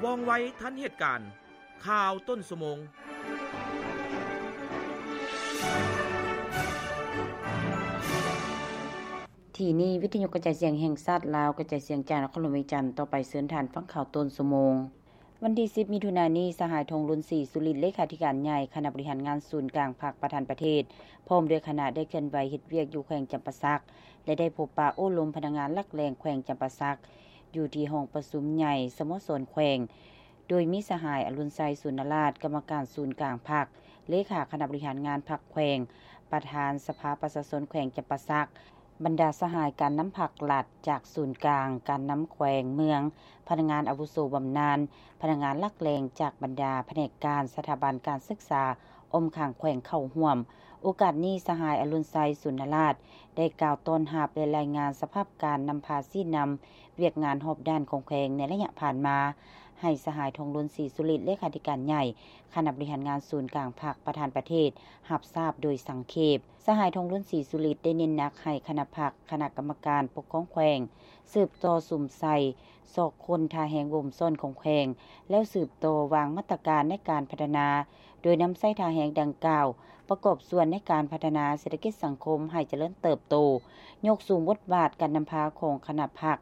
ວ່ອງໄວທັນເຫດການ. ຂ່າວຕົ້ນຊົ່ວໂມງ. ທີ່ນີ້ ວິທະຍຸກະຈາຍສຽງແຫ່ງຊາດລາວ ກະຈາຍສຽງຈາກນະຄອນຫຼວງວຽງຈັນ. ຕໍ່ໄປເຊີນທ່ານຟັງຂ່າວຕົ້ນຊົ່ວໂມງ. ວັນທີສິບ ມິຖຸນານີ້ ສະຫາຍ ທອງລຸນ ສີສຸລິດ ເລຂາທິການໃຫຍ່ຄະນະບໍລິຫານງານສູນກາງພັກ ປະທານປະເທດ ພ້ອມດ້ວຍຄະນະ ໄດ້ເຄື່ອນໄຫວເຮັດວຽກຢູ່ແຂວງຈຳປາສັກ ແລະ ໄດ້ພົບປະໂອ້ລົມພະນັກງານຫຼັກແຫຼ່ງແຂວງຈຳປາສັກ ຢູ່ທີ່ຫ້ອງປະຊຸມໃຫຍ່ສະໂມສອນແຂວງ, ໂດຍມີສະຫາຍ ອະລຸນໄຊ ສູນນະລາດ ກຳມະການສູນກາງພັກ, ເລຂາຄະນະບໍລິຫານງານພັກແຂວງ, ປະທານສະພາປະຊາຊົນແຂວງຈຳປາສັກ, ບັນດາສະຫາຍການນຳພັກລັດຈາກສູນກາງ, ການນຳແຂວງເມືອງ, ພະນັກງານອາວຸໂສບຳນານ, ພະນັກງານຫຼັກແຫຼ່ງຈາກບັນດາພະແນກການ, ສະຖາບັນການສຶກສາອ້ອມຂ້າງແຂວງເຂົ້າຮ່ວມ. ໂອກາດນີ້ ສະຫາຍ ອະລຸນໄຊ ສູນນະລາດ ໄດ້ກ່າວຕ້ອນຮັບ ແລະ ລາຍງານສະພາບການນຳພາຊີ້ນຳວຽກງານຮອບດ້ານຂອງແຂວງໃນໄລຍະຜ່ານມາ, ໃຫ້ສະຫາຍ ທອງລຸນ ສີສຸລິດ ເລຂາທິການໃຫຍ່ຄະນະບໍລິຫານງານສູນກາງພັກ ປະທານປະເທດ ຮັບຊາບໂດຍສັງເຂບ. ສະຫາຍ ທອງລຸນ ສີສຸລິດ ໄດ້ເນັ້ນໜັກໃຫ້ຄະນະພັກ, ຄະນະກຳມະການປົກຄອງແຂວງ ສືບຕໍ່ສຸມໃສ່ ຊອກຄົ້ນທ່າແຮງບົ່ມຊ້ອນຂອງແຂວງ ແລ້ວສືບຕໍ່ວາງມາດຕະການໃນການພັດທະນາ ໂດຍນຳໃຊ້ທ່າແຮງດັ່ງກ່າວ ປະກອບສ່ວນໃນການພັດທະນາເສດຖະກິດສັງຄົມໃຫ້ຈະເລີນເຕີບໂຕ, ຍົກສູງບົດບາດການນຳພາຂອງຄະນະພັກ,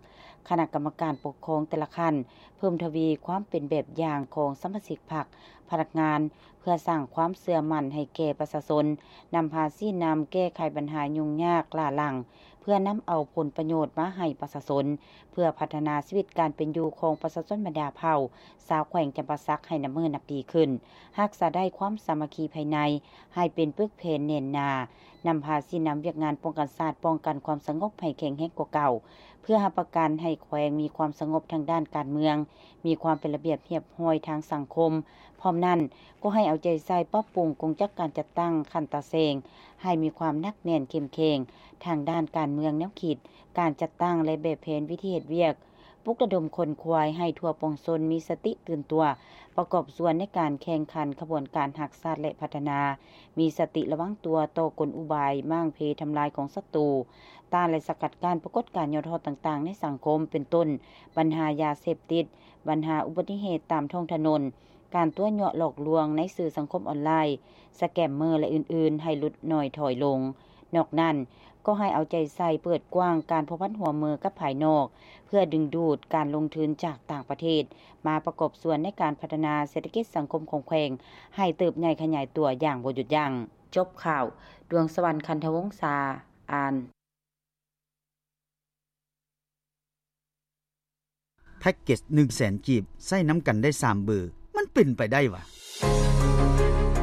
ຄະນະກຳມະການປົກຄອງແຕ່ລະຂັ້ນ, ເພີ່ມທະວີຄວາມເປັນແບບຢ່າງຂອງສະມາຊິກພັກ, ພະນັກງານ, ເພື່ອສ້າງຄວາມເຊື່ອໝັ້ນໃຫ້ແກ່ປະຊາຊົນ, ນຳພາຊີ້ນຳແກ້ໄຂບັນຫາຫຍຸ້ງຍາກຫຼ້າຫຼັງ, ເພື່ອນຳເອົາຜົນປະໂຫຍດມາໃຫ້ປະຊາຊົນ, ເພື່ອພັດທະນາຊີວິດການເປັນຢູ່ຂອງປະຊາຊົນບັນດາເຜົ່າຊາວແຂວງຈຳປາສັກໃຫ້ນັບມື້ນັບດີຂຶ້ນ, ຮັກສາໄດ້ຄວາມສາມັກຄີພາຍໃນໃຫ້ເປັນປຶກແຜ່ນແໜ້ນໜາ, ນຳພາຊີ້ນຳວຽກງານປ້ອງກັນຊາດ, ປ້ອງກັນຄວາມສະຫງົບໃຫ້ແຂງແຮງກວ່າເກົ່າ, ເພື່ອຮັບປະກັນໃຫ້ແຂວງມີຄວາມສະຫງົບທາງດ້ານການເມືອງ, ມີຄວາມເປັນລະບຽບຮຽບຮ້ອຍທາງສັງຄົມ. ພ້ອມນັ້ນ, ກໍໃຫ້ເອົາໃຈໃສ່ປັບປຸງກົງຈັກການຈັດຕັ້ງຂັ້ນຕາແສງ ໃຫ້ມີຄວາມໜັກແໜ້ນເຂັ້ມແຂງທາງດ້ານການເມືອງ, ແນວຄິດ, ການຈັດຕັ້ງ ແລະ ແບບແຜນວິທີເຮັດວຽກ, ປຸກລະດົມຂົນຂວາຍໃຫ້ທົ່ວປວງຊົນມີສະຕິຕື່ນຕົວ, ປະກອບສ່ວນໃນການແຂ່ງຂັນຂະບວນການຮັກຊາດ ແລະ ພັດທະນາ, ມີສະຕິລະວັງຕົວຕໍ່ກົນອຸບາຍມ້າງເພທຳລາຍຂອງສັດຕູ, ຕ້ານ ແລະ ສະກັດກັ້ນປາກົດການຫຍໍ້ທໍ້ຕ່າງໆໃນສັງຄົມ, ເປັນຕົ້ນ ບັນຫາຢາເສບຕິດ, ບັນຫາອຸບັດຕິເຫດຕາມທ້ອງຖະໜົນ, ການຕົວະຍົວະຫຼອກລວງໃນສື່ສັງຄົມອອນລາຍ, ສະແກມເມີ ແລະ ອື່ນໆ ໃຫ້ຫຼຸດໜ້ອຍຖອຍລົງ. ນອກນັ້ນ, ກໍໃຫ້ເອົາໃຈໃສ່ເປີດກວ້າງການພົວພັນຮ່ວມມືກັບພາຍນອກ, ເພື່ອດຶງດູດການລົງທຶນຈາກຕ່າງປະເທດ ມາປະກອບສ່ວນໃນການພັດທະນາເສດຖະກິດສັງຄົມຂອງແຂວງ ໃຫ້ເຕີບໃຫຍ່ຂະຫຍາຍຕົວຢ່າງບໍ່ຢຸດຢັ້ງ. ຈົບຂ່າວ, ດວງສະຫວັນ ຄັນທະວົງສາ ອ່ານ. ແພັກເກັດໜຶ່ງແສນກີບ ໃຊ້ນຳກັນໄດ້ສາມເບີ ມັນເປັນໄປໄດ້ຫວາ?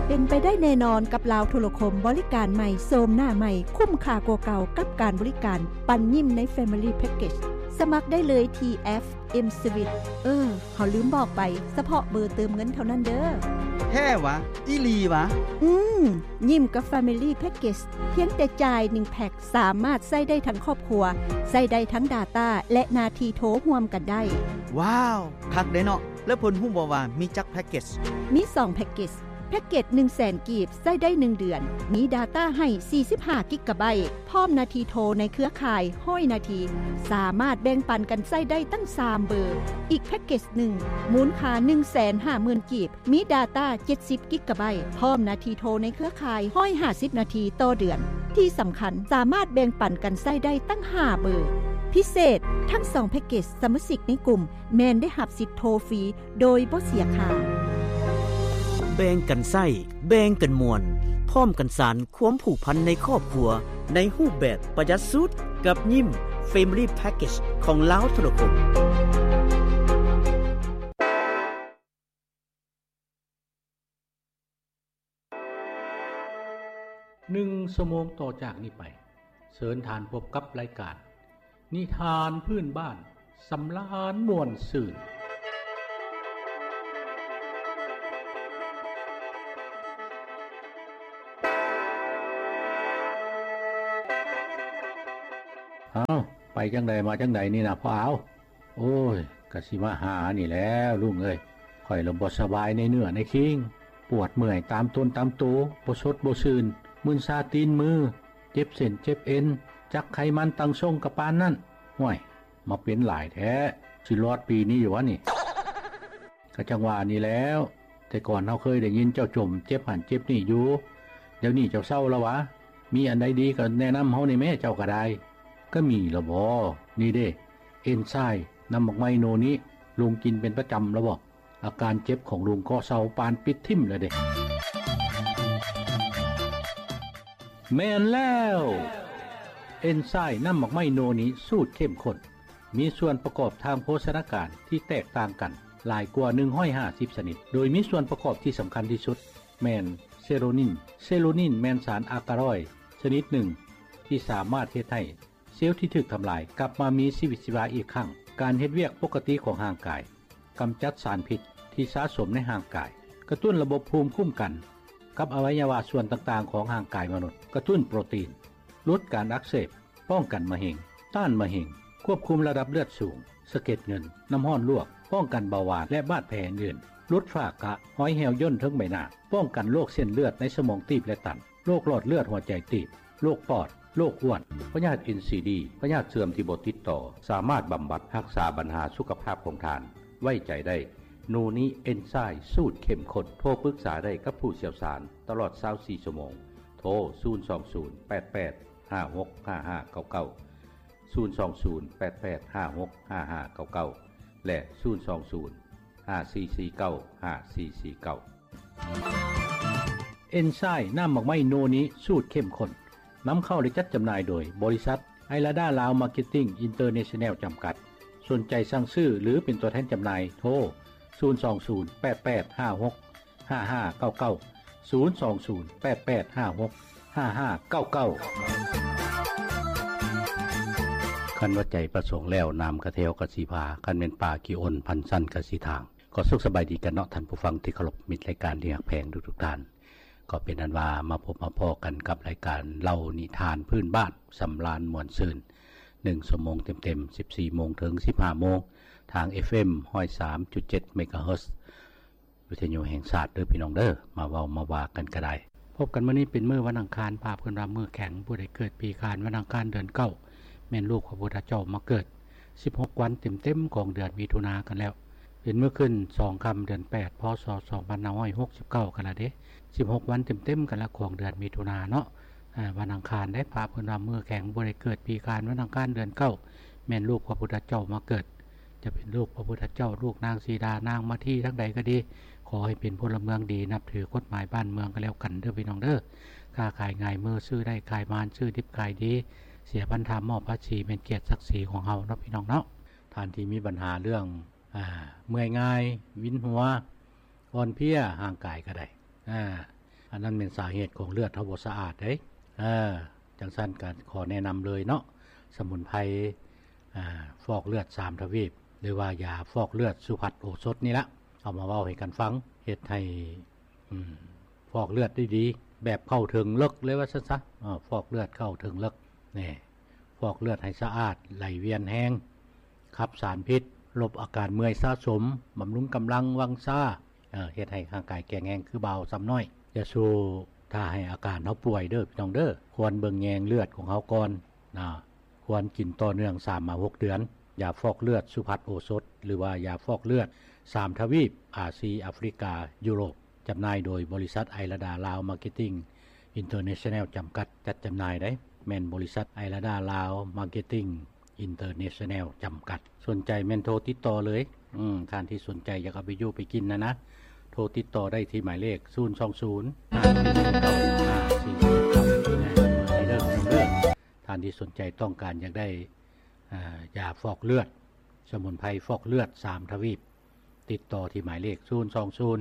ເປັນໄປໄດ້ແນ່ນອນກັບລາວໂທລະຄົມ ບໍລິການໃໝ່ ໂສມໜ້າໃໝ່ ຄຸ້ມຄ່າກວ່າເກົ່າກັບການບໍລິການ ປັນຍິ້ມໃນ Family Package ສະໝັກໄດ້ເລີຍທີ່ F M Sweet. ເອີ ເຮົາລືມບອກໄປ, ສະເພາະເບີເຕີມເງິນເທົ່ານັ້ນເດີ້. ແທ້ຫວາ? ອີ່ຫຼີຫວາ? ອືມ, ຍິ້ມກັບ Family Package ພຽງແຕ່ຈ່າຍໜຶ່ງແພັກ ສາມາດໃຊ້ໄດ້ທັງຄອບຄົວ, ໃຊ້ໄດ້ທັງ data ແລະ ໜ້າທີ່ໂທຮ່ວມກັນໄດ້. ວ້າວ, ຄັກເດ້ເນາະ. ແລ້ວເພິ່ນຮູ້ບໍ່ວ່າມີຈັກແພັກເກັດ? ມີສອງແພັກເກັດ. ແພັກເກັດໜຶ່ງແສນກີບ ໃຊ້ໄດ້ໜຶ່ງເດືອນ, ມີ data ໃຫ້ສີ່ສິບຫ້າກິກກາໄບ, ພ້ອມໜ້າທີ່ໂທໃນເຄືອຂ່າຍຮ້ອຍນາທີ, ສາມາດແບ່ງປັນກັນໃຊ້ໄດ້ຕັ້ງສາມເບີ. ອີກແພັກເກັດໜຶ່ງ ມູນຄ່າໜຶ່ງແສນຫ້າໝື່ນກີບ, ມີ data ເຈັດສິບກິກກາໄບ, ພ້ອມໜ້າທີ່ໂທໃນເຄືອຂ່າຍຮ້ອຍຫ້າສິບນາທີຕໍ່ເດືອນ. ທີ່ສຳຄັນ, ສາມາດແບ່ງປັນກັນໃຊ້ໄດ້ຕັ້ງຫ້າເບີ. ພິເສດ, ທັງສອງແພັກເກັດສະມາຊິກໃນກຸ່ມ ແມ່ນໄດ້ຮັບສິດໂທຟຣີໂດຍບໍ່ເສຍຄ່າ. ແບ່ງກັນໃຊ້, ແບ່ງກັນມ່ວນ, ພ້ອມກັນສານຄວາມຜູກພັນໃນຄອບຄົວ ໃນຮູບແບບປະຢັດສຸດ ກັບຍິ້ມ Family Package ຂອງລາວໂທລະຄົມ. ໜຶ່ງຊົ່ວໂມງຕໍ່ຈາກນີ້ໄປ, ເຊີນທ່ານພົບກັບລາຍການ ນິທານພື້ນບ້ານ ສຳລານມ່ວນຊື່ນ. ອ້າວ, ໄປຈັ່ງໃດມາຈັ່ງໃດນີ້ນະພໍ່ອາວ? ໂອ້ຍ, ກະຊິມາຫານີ້ແຫຼະລຸງເອີຍ. ຂ້ອຍລະບໍ່ສະບາຍໃນເນື້ອໃນຄີງ, ປວດເມື່ອຍຕາມຕົນຕາມໂຕ, ບໍ່ສົດບໍ່ຊື່ນ, ມຶນຊາຕີນມື, ເຈັບເສັ້ນເຈັບເອັນ, ຈັກໄຂມັນຕັ້ງຊົງກະປານນັ້ນ. ຫ້ວຍ, ມາເປັນຫຼາຍແທ້, ຊິລອດປີນີ້ຢູ່ຫວານີ້? ກໍຈັ່ງວ່ານີ້ແຫຼ້ວ, ແຕ່ກ່ອນເຮົາເຄີຍໄດ້ຍິນເຈົ້າຈົ່ມເຈັບຫັ້ນເຈັບນີ້ຢູ່, ດຽວນີ້ເຈົ້າເຊົາແລ້ວຫວາ? ມີອັນໃດດີກໍແນະນຳເຮົາແດ່ແມ້, ເຈົ້າກໍໄດ້. ກໍມີແລ້ວບໍ? ນີ້ເດ້, ເອັນໄຊມ໌ນ້ຳໝາກໄມ້ໂນນິ, ລຸງກິນເປັນປະຈຳແລ້ວບໍ? ອາການເຈັບຂອງລຸງກໍເຊົາປານປິດຖິ້ມແລ້ວເດ້. ແມ່ນແລ້ວ! ເອັນໄຊມ໌ນ້ຳໝາກໄມ້ໂນນິສູດເຂັ້ມຂຸ້ນ ມີສ່ວນປະກອບທາງໂພຊະນາການທີ່ແຕກຕ່າງກັນຫຼາຍກວ່າໜຶ່ງຮ້ອຍຫ້າສິບຊະນິດ, ໂດຍມີສ່ວນປະກອບທີ່ສຳຄັນທີ່ສຸດແມ່ນເຊໂຣນິນ. ເຊໂຣນິນແມ່ນສານອາກາຣອຍຊະນິດໜຶ່ງທີ່ສາມາດເຮັດໃຫ້ ເຊວທີ່ຖືກທຳລາຍກັບມາມີຊີວິດຊີວາອີກຄັ້ງ, ການເຮັດວຽກປົກກະຕິຂອງຮ່າງກາຍ, ກຳຈັດສານພິດທີ່ສະສົມໃນຮ່າງກາຍ, ກະຕຸ້ນລະບົບພູມຄຸ້ມກັນກັບອະໄວຍະວະສ່ວນຕ່າງໆຂອງຮ່າງກາຍມະນຸດ, ກະຕຸ້ນໂປຣຕີນ, ຫຼຸດການອັກເສບ, ປ້ອງກັນມະເຮັງ, ຕ້ານມະເຮັງ, ຄວບຄຸມລະດັບເລືອດສູງ, ສະເກັດເງິນ, ນ້ຳຮ້ອນລວກ, ປ້ອງກັນເບົາຫວານ ແລະ ບາດແຜອື່ນໆ, ຫຼຸດຝ້າກະ, ຮອຍແຫ້ວຍ່ນເທິງໃບໜ້າ, ປ້ອງກັນໂລກເສັ້ນເລືອດໃນສະໝອງຕີບ ແລະ ຕັນ. ໂລກຫຼອດເລືອດຫົວໃຈຕີບ, ໂລກປອດ, ໂລກອ້ວນ, ພະຍາດເອັນຊີດີ, ພະຍາດເຊື່ອມທີ່ບໍ່ຕິດຕໍ່, ສາມາດບຳບັດຮັກສາບັນຫາສຸຂະພາບຂອງທ່ານ. ໄວ້ໃຈໄດ້, ໂນນິເອັນໄຊມ໌ສູດເຂັ້ມຂຸ້ນ. ໂທປຶກສາໄດ້ກັບຜູ້ຊ່ຽວຊານຕະຫຼອດຊາວສີ່ຊົ່ວໂມງ. ໂທ ສູນສອງສູນ ແປດແປດ ຫ້າຫົກ ຫ້າຫ້າເກົ້າເກົ້າ, ສູນສອງສູນ ແປດແປດ ຫ້າຫົກ ຫ້າຫ້າເກົ້າເກົ້າ ແລະ ສູນສອງສູນ ຫ້າສີ່ສີ່ເກົ້າ ຫ້າສີ່ສີ່ເກົ້າ. ເອັນໄຊມ໌ນ້ຳໝາກໄມ້ໂນນິສູດເຂັ້ມຂຸ້ນ ນຳເຂົ້າ ແລະ ຈັດຈຳໜ່າຍໂດຍບໍລິສັດໄອລາດາລາວມາເກັດຕິ້ງອິນເຕີເນຊັນແນວຈຳກັດ. ສົນໃຈສັ່ງຊື້ ຫຼື ເປັນຕົວແທນຈຳໜ່າຍ ໂທ ສູນສອງສູນ ແປດແປດ ຫ້າຫົກ ຫ້າຫ້າເກົ້າເກົ້າ, ສູນສອງສູນ ແປດແປດ ຫ້າຫົກ ຫ້າຫ້າເກົ້າເກົ້າ. ຄັນວ່າໃຈປະສົງແລ້ວ ນ້ຳກະແຖວກະຊິພາ, ຄັນແມ່ນປ່າຂີ້ອົນ ພັນຊັ້ນກະຊິທາງ. ກໍສຸກສະບາຍດີກັນເນາະ ທ່ານຜູ້ຟັງທີ່ເຄົາລົບ, ມິດລາຍການທີ່ຮັກແພງທຸກໆທ່ານ. ກໍເປັນອັນວ່າມາພົບມາພໍ້ກັນກັບລາຍການເລົ່ານິທານພື້ນບ້ານ ສຳລານມ່ວນຊື່ນ ໜຶ່ງຊົ່ວໂມງເຕັມໆ ສິບສີ່ໂມງເຖິງສິບຫ້າໂມງ ທາງ ເອັຟເອັມ ຮ້ອຍສາມຈຸດເຈັດ ເມກາເຮີດ ວິທະຍຸແຫ່ງຊາດເດີພີ່ນ້ອງເດີ, ມາເວົ້າມາວ່າກັນກໍໄດ້. ພົບກັນມື້ນີ້ເປັນມື້ວັນອັງຄານ, ພາເພິ່ນວ່າມື້ແຂງ, ຜູ້ໃດເກີດປີຂານ ວັນອັງຄານ ເດືອນເກົ້າ ແມ່ນລູກພະພຸດທະເຈົ້າມາເກີດ. ສິບຫົກວັນເຕັມໆຂອງເດືອນມິຖຸນາກັນແລ້ວ, ເປັນມື້ຂຶ້ນສອງຄ່ຳເດືອນແປດ ພ.ສ. ສອງພັນຫ້າຮ້ອຍຫົກສິບເກົ້າກັນລະເດ້. ສິບຫົກວັນເຕັມໆກັນລະຂອງເດືອນມິຖຸນາເນາະ. ອາ ວັນອັງຄານເດ້, ພະເພິ່ນວ່າມື້ແຂງ, ຜູ້ໃດເກີດປີຂານ ວັນອັງຄານ ເດືອນເກົ້າ ແມ່ນລູກພະພຸດທະເຈົ້າມາເກີດ. ຈະເປັນລູກພະພຸດທະເຈົ້າ, ລູກນາງສີດາ, ນາງມາທີ ທາງໃດກໍດີ, ຂໍໃຫ້ເປັນພົນລະເມືອງດີ, ນັບຖືກົດໝາຍບ້ານເມືອງກໍແລ້ວກັນເດີພີ່ນ້ອງເດີ. ຄ້າຂາຍງ່າຍມື, ຊື້ໄດ້ຂາຍໝານ, ຊື້ດິບຂາຍດີ, ເສຍພັນທາມອບພາສີ ແມ່ນກຽດສັກສີຂອງເຮົາເນາະພີ່ນ້ອງເນາະ. ທ່ານທີ່ມີບັນຫາເລື່ອງ ອາ ເມື່ອຍງ່າຍ, ວິນຫົວ, ອ່ອນເພຍຮ່າງກາຍກໍໄດ້, ອາ ອັນນັ້ນແມ່ນສາເຫດຂອງເລືອດເຮົາບໍ່ສະອາດເດ້. ເອີ ຈັ່ງຊັ້ນກໍຂໍແນະນຳເລີຍເນາະ, ສະໝຸນໄພ ອາ ຟອກເລືອດສາມທະວີບ ຫຼືວ່າຢາຟອກເລືອດສຸພັດໂອສົດນີ້ລະ ເອົາມາເວົ້າໃຫ້ກັນຟັງ, ເຮັດໃຫ້ ອືມ ຟອກເລືອດໄດ້ດີ ແບບເຂົ້າເຖິງເລິກເລີຍວ່າຊັ້ນຊະ. ເອີ ຟອກເລືອດເຂົ້າເຖິງເລິກ ນີ້ ຟອກເລືອດໃຫ້ສະອາດ, ໄຫຼວຽນແຮງ, ຂັບສານພິດ, ລົບອາການເມື່ອຍສະສົມ, ບຳລຸງກຳລັງວັງຊາ, ເຮັດໃຫ້ຮ່າງກາຍແຂງແຮງຄືບ່າວຊຳນ້ອຍ. ຢ່າສູ່ຖ້າໃຫ້ອາການເຮົາປ່ວຍເດີພີ່ນ້ອງເດີ, ຄວນເບິ່ງແຍງເລືອດຂອງເຮົາກ່ອນນະ. ຄວນກິນຕໍ່ເນື່ອງສາມມາຫົກເດືອນ. ຢາຟອກເລືອດສຸພັດໂອສົດ ຫຼືວ່າຢາຟອກເລືອດສາມທະວີບ, ອາຊີ, ອາຟຣິກາ, ຢູໂຣບ. ຈຳໜ່າຍໂດຍບໍລິສັດໄອລາດາລາວມາເກັດຕິ້ງອິນເຕີເນຊັນແນວຈຳກັດ ຈັດຈຳໜ່າຍໄດ໋, ແມ່ນບໍລິສັດໄອລາດາລາວມາເກັດຕິ້ງອິນເຕີເນຊັນແນວຈຳກັດ. ສົນໃຈແມ່ນໂທຕິດຕໍ່ເລີຍ. ອືມ ທ່ານທີ່ສົນໃຈຢາກເອົາໄປຢູ່ໄປກິນນະນະ, ໂທຕິດຕໍ່ໄດ້ທີ່ໝາຍເລກ ສູນສອງສູນ ຫ້າສີ່ສີ່ເກົ້າ ຫ້າສີ່ສີ່ເກົ້າ ເດີ ທ່ານທີ່ສົນໃຈຕ້ອງການຢາກໄດ້ ອາ ຢາຟອກເລືອດ, ສະໝຸນໄພຟອກເລືອດສາມທະວີບ, ຕິດຕໍ່ທີ່ໝາຍເລກ ສູນສອງສູນ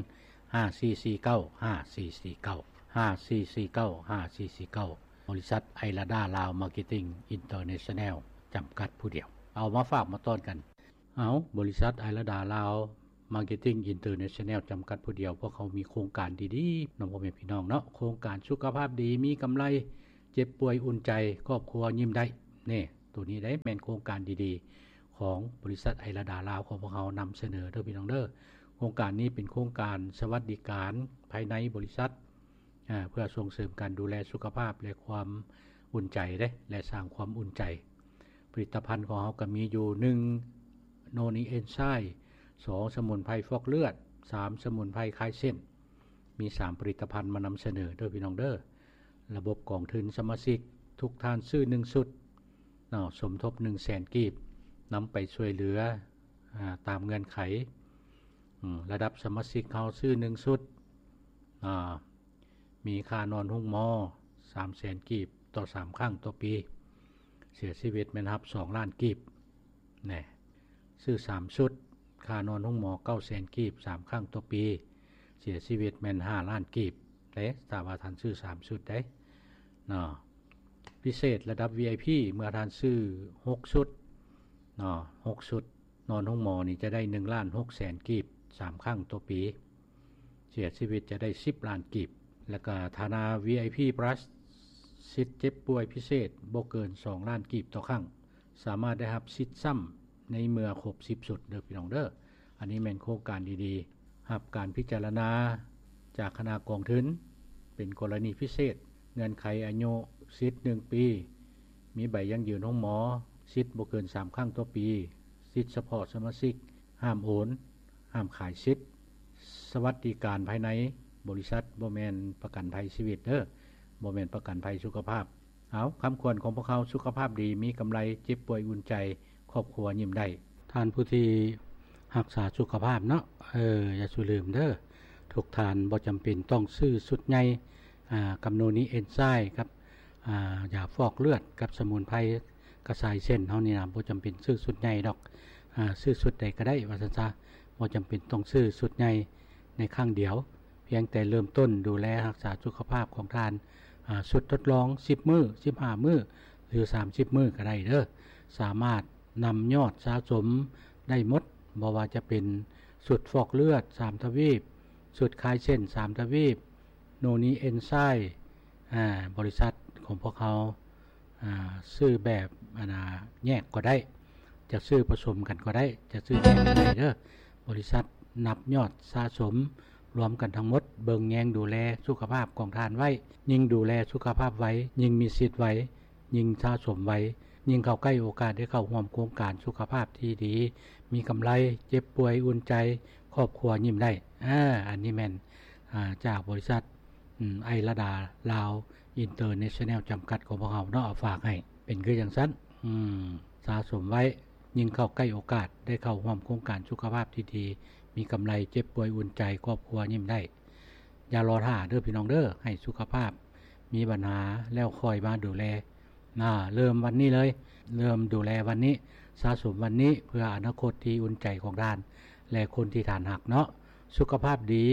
ຫ້າສີ່ສີ່ເກົ້າ ຫ້າສີ່ສີ່ເກົ້າ ຫ້າສີ່ສີ່ເກົ້າ ຫ້າສີ່ສີ່ເກົ້າ, ບໍລິສັດໄອລາດາລາວມາເກັດຕິ້ງອິນເຕີເນຊັນແນວຈຳກັດຜູ້ດຽວ. ເອົາມາຝາກມາຕ້ອນກັນ. ເອົາ ບໍລິສັດໄອລາດາລາວມາເກັດຕິ້ງອິນເຕີເນຊັນແນວຈຳກັດຜູ້ດຽວ, ພວກເຮົາມີໂຄງການດີໆ ນຳພໍ່ແມ່ພີ່ນ້ອງເນາະ, ໂຄງການສຸຂະພາບດີ ມີກຳໄລ, ເຈັບປ່ວຍອຸ່ນໃຈ, ຄອບຄົວຍິ້ມໄດ້. ນີ້ ໂຕນີ້ໄດ໋ແມ່ນໂຄງການດີໆ ຂອງບໍລິສັດໄອລາດາລາວຂອງພວກເຮົານຳສະເໜີເດີພີ່ນ້ອງເດີ. ໂຄງການນີ້ເປັນໂຄງການສະຫວັດດີການພາຍໃນບໍລິສັດ ອາ ເພື່ອສົ່ງເສີມການດູແລສຸຂະພາບ ແລະ ຄວາມອຸ່ນໃຈເດ້ ແລະ ສ້າງຄວາມອຸ່ນໃຈ. ຜະລິດຕະພັນຂອງເຮົາກໍມີຢູ່ ໜຶ່ງ ໂນນີເອັນໄຊ, ສອງ ສະໝຸນໄພຟອກເລືອດ, ສາມ ສະໝຸນໄພຄາຍເສັ້ນ. ມີສາມຜະລິດຕະພັນມານຳສະເໜີເດີພີ່ນ້ອງເດີ. ລະບົບກອງທຶນສະມາຊິກ ທຸກທ່ານຊື້ໜຶ່ງຊຸດເນາະ ສົມທົບໜຶ່ງແສນກີບ ນຳໄປຊ່ວຍເຫຼືອ ອາ ຕາມເງື່ອນໄຂ. ອາ ລະດັບສະມາຊິກເຮົາຊື້ໜຶ່ງຊຸດ ອາ ມີຄ່ານອນໂຮງໝໍສາມແສນກີບຕໍ່ສາມຄັ້ງຕໍ່ປີ, ເສຍຊີວິດແມ່ນຮັບສອງລ້ານກີບ. ແນ່ ຊື້ສາມຊຸດ ຄ່ານອນໂຮງໝໍເກົ້າແສນກີບສາມຄັ້ງຕໍ່ປີ, ເສຍຊີວິດແມ່ນຫ້າລ້ານກີບເດ້ ຖ້າວ່າທ່ານຊື້ສາມຊຸດເດ້ເນາະ. ພິເສດລະດັບ ວີໄອພີ ເມື່ອທ່ານຊື້ຫົກຊຸດເນາະ ຫົກຊຸດ ນອນໂຮງໝໍນີ້ຈະໄດ້ໜຶ່ງລ້ານຫົກແສນກີບສາມຄັ້ງຕໍ່ປີ, ເສຍຊີວິດຈະໄດ້ສິບລ້ານກີບ. ແລ້ວກະຖ້ານາ ວີໄອພີ ພລັສ ສິດເຈັບປ່ວຍພິເສດບໍ່ເກີນສອງລ້ານກີບຕໍ່ຄັ້ງ, ສາມາດໄດ້ຮັບສິດຊ້ຳໃນເມື່ອຄົບສິບຊຸດເດີພີ່ນ້ອງເດີ. ອັນນີ້ແມ່ນໂຄງການດີໆ ຮັບການພິຈາລະນາຈາກຄະນະກອງທຶນ ເປັນກໍລະນີພິເສດ, ເງື່ອນໄຂອາຍຸສິດໜຶ່ງປີ, ມີໃບຢັ້ງຢືນໂຮງໝໍ, ສິດບໍ່ເກີນສາມຄັ້ງຕໍ່ປີ, ສິດສະເພາະສະມາຊິກ, ຫ້າມໂອນ, ຫ້າມຂາຍສິດ, ສະຫວັດດີການພາຍໃນບໍລິສັດ, ບໍ່ແມ່ນປະກັນໄພຊີວິດເດີ, ບໍ່ແມ່ນປະກັນໄພສຸຂະພາບ. ເອົາ ຄຳຂວັນຂອງພວກເຮົາ, ສຸຂະພາບດີ, ມີກຳໄລ, ເຈັບປ່ວຍອຸ່ນໃຈ, ຄອບຄົວຍິ້ມໄດ້. ທ່ານຜູ້ທີ່ຮັກສາສຸຂະພາບເນາະ, ເອີ ຢ່າສູ່ລືມເດີ, ທຸກທ່ານບໍ່ຈຳເປັນຕ້ອງຊື້ຊຸດໃຫຍ່ ອາ ກັບໂນນີເອນໄຊ ກັບ ອາ ຢາຟອກເລືອດ ກັບສະໝຸນໄພກະຊາຍເສັ້ນເຮົານີ້ນະ, ບໍ່ຈຳເປັນຊື້ຊຸດໃຫຍ່ດອກ, ອາ ຊື້ຊຸດໃດກໍໄດ້ວ່າຊັ້ນຊະ, ບໍ່ຈຳເປັນຕ້ອງຊື້ຊຸດໃຫຍ່ໃນຄັ້ງດຽວ. ພຽງແຕ່ເລີ່ມຕົ້ນດູແລຮັກສາສຸຂະພາບຂອງທ່ານ ອາ ຊຸດທົດລອງສິບມື້, ສິບຫ້າມື້ ຫຼື ສາມສິບມື້ກໍໄດ້ເດີ. ສາມາດນຳຍອດສະສົມໄດ້ໝົດ, ບໍ່ວ່າຈະເປັນຊຸດຟອກເລືອດສາມທະວີບ, ຊຸດຄາຍເສັ້ນສາມທະວີບ, ໂນນີເອນໄຊ ອາ ບໍລິສັດຂອງພວກເຮົາ ອາ ຊື້ແບບ ອັນນ່າ ແຍກກໍໄດ້, ຈະຊື້ປະສົມກັນກໍໄດ້, ຈະຊື້ແຍກກໍໄດ້ເດີ. ບໍລິສັດນັບຍອດສະສົມລວມກັນທັງໝົດ, ເບິ່ງແຍງດູແລສຸຂະພາບຂອງທ່ານໄວ້, ຍິ່ງດູແລສຸຂະພາບໄວ, ຍິ່ງມີສິດໄວ, ຍິ່ງສະສົມໄວ, ຍິ່ງເຂົ້າໃກ້ໂອກາດໄດ້ເຂົ້າຮ່ວມໂຄງການສຸຂະພາບທີ່ດີ, ມີກຳໄລ, ເຈັບປ່ວຍອຸ່ນໃຈ, ຄອບຄົວຍິ້ມໄດ້. ອາ ອັນນີ້ແມ່ນ ອາ ຈາກບໍລິສັດ ອາ ໄອລະດາລາວອິນເຕີເນຊັນແນວຈຳກັດຂອງພວກເຮົາເນາະ, ເອົາຝາກໃຫ້. ເປັນຄືຈັ່ງຊັ້ນ ອືມ ສະສົມໄວ້, ຍິ່ງເຂົ້າໃກ້ໂອກາດໄດ້ເຂົ້າຮ່ວມໂຄງການສຸຂະພາບທີ່ດີ, ມີກຳໄລ, ເຈັບປ່ວຍອຸ່ນໃຈ, ຄອບຄົວຍິ້ມໄດ້. ຢ່າລໍຖ້າເດີພີ່ນ້ອງເດີ, ໃຫ້ສຸຂະພາບມີບັນຫາແລ້ວຄ່ອຍມາດູແລ. ນາ ເລີ່ມວັນນີ້ເລີຍ, ເລີ່ມດູແລວັນນີ້, ສະສົມວັນນີ້ ເພື່ອອະນາຄົດທີ່ອຸ່ນໃຈຂອງທ່ານ ແລະ ຄົນທີ່ທ່ານຮັກເນາະ. ສຸຂະພາບດີ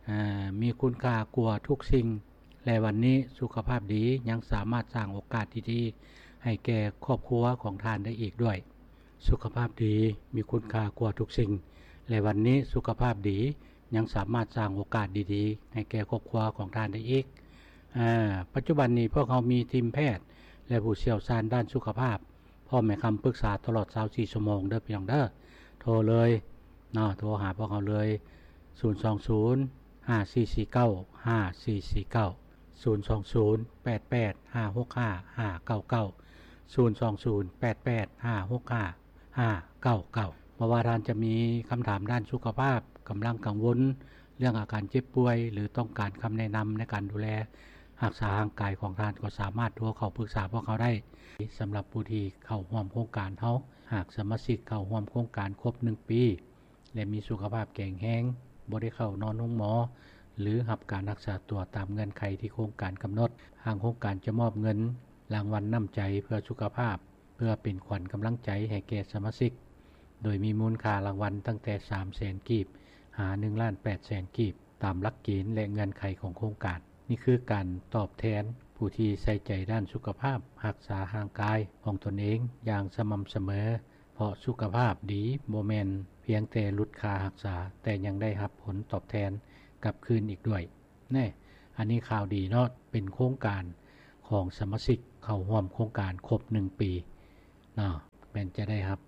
ອາ ມີຄຸນຄ່າກວ່າທຸກສິ່ງ ແລະ ວັນນີ້ສຸຂະພາບດີຍັງສາມາດສ້າງໂອກາດທີ່ດີໃຫ້ແກ່ຄອບຄົວຂອງທ່ານໄດ້ອີກດ້ວຍ. ສຸຂະພາບດີມີຄຸນຄ່າກວ່າທຸກສິ່ງ ແລະ ວັນນີ້ສຸຂະພາບດີຍັງສາມາດສ້າງໂອກາດດີໆໃຫ້ແກ່ຄອບຄົວຂອງທ່ານໄດ້ອີກ. ອາ ປັດຈຸບັນນີ້ພວກເຮົາມີທີມແພດ ແລະ ຜູ້ຊ່ຽວຊານດ້ານສຸຂະພາບ ພ້ອມໃຫ້ຄຳປຶກສາຕະຫຼອດຊາວສີ່ຊົ່ວໂມງເດີພີ່ນ້ອງເດີ. ໂທເລີຍເນາະ, ໂທຫາພວກເຮົາເລີຍ ສູນສອງສູນ ຫ້າສີ່ສີ່ເກົ້າ ຫ້າສີ່ສີ່ເກົ້າ, ສູນສອງສູນ ແປດແປດ ຫ້າຫົກຫ້າ ຫ້າເກົ້າເກົ້າ, ສູນສອງສູນ ແປດແປດ ຫ້າຫົກຫ້າ ຫ້າເກົ້າເກົ້າ. ບໍ່ວ່າທ່ານຈະມີຄຳຖາມດ້ານສຸຂະພາບ, ກຳລັງກັງວົນເລື່ອງອາການເຈັບປ່ວຍ ຫຼື ຕ້ອງການຄຳແນະນຳໃນການດູແລຮັກສາຮ່າງກາຍຂອງທ່ານ ກໍສາມາດໂທເຂົ້າປຶກສາພວກເຮົາໄດ້. ສຳລັບຜູ້ທີ່ເຂົ້າຮ່ວມໂຄງການເຮົາ, ຫາກສະມາຊິກເຂົ້າຮ່ວມໂຄງການຄົບໜຶ່ງປີ ແລະ ມີສຸຂະພາບແຂງແຮງ, ບໍ່ໄດ້ເຂົ້ານອນໂຮງໝໍ ຫຼື ຮັບການຮັກສາຕົວຕາມເງື່ອນໄຂທີ່ໂຄງການກຳນົດ, ທາງໂຄງການຈະມອບເງິນລາງວັນນ້ຳໃຈເພື່ອສຸຂະພາບ ເພື່ອເປັນຂວັນກຳລັງໃຈໃຫ້ແກ່ສະມາຊິກ, ໂດຍມີມູນຄ່າລາງວັນຕັ້ງແຕ່ສາມແສນກີບ ຫາ ໜຶ່ງລ້ານແປດແສນກີບ ຕາມຫຼັກເກນ ແລະ ເງື່ອນໄຂຂອງໂຄງການ. ນີ້ຄືການຕອບແທນຜູ້ທີ່ໃສ່ໃຈດ້ານສຸຂະພາບ, ຮັກສາຮ່າງກາຍຂອງຕົນເອງຢ່າງສະໝ່ຳສະເໝີ, ເພາະສຸຂະພາບດີບໍ່ແມ່ນພຽງແຕ່ຫຼຸດຄ່າຮັກສາ, ແຕ່ຍັງໄດ້ຮັບຜົນຕອບແທນກັບຄືນອີກດ້ວຍ. ແນ່ ອັນນີ້ຂ່າວດີເນາະ, ເປັນໂຄງການຂອງສະມາຊິກເຂົ້າຮ່ວມໂຄງການຄົບໜຶ່ງປີເນາະ, ແມ່ນຈະໄດ້ຮັບ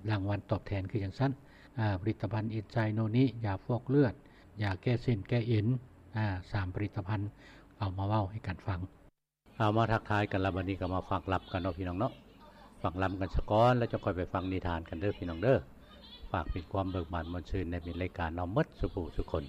ລາງວັນຕອບແທນຄືຈັ່ງຊັ້ນ. ອາ ຜະລິດຕະພັນເອນໄຊໂນນິ, ຢາຟອກເລືອດ, ຢາແກ້ເສັ້ນແກ້ເອັນ, ອາ ສາມຜະລິດຕະພັນ ເອົາມາເວົ້າໃຫ້ກັນຟັງ. ເອົາ ມາທັກທາຍກັນລະ, ບັດນີ້ກໍມາຟັງລຳກັນເນາະ ພີ່ນ້ອງເນາະ. ຟັງລຳກັນສາກ່ອນ ແລ້ວຈະຄ່ອຍໄປຟັງນິທານກັນເດີ ພີ່ນ້ອງເດີ. ຝາກເປັນຄວາມເບີກບານມ່ວນຊື່ນໃນມິດລາຍການເຮົາໝົດສູ່ຜູ້ສູ່ຄົນ.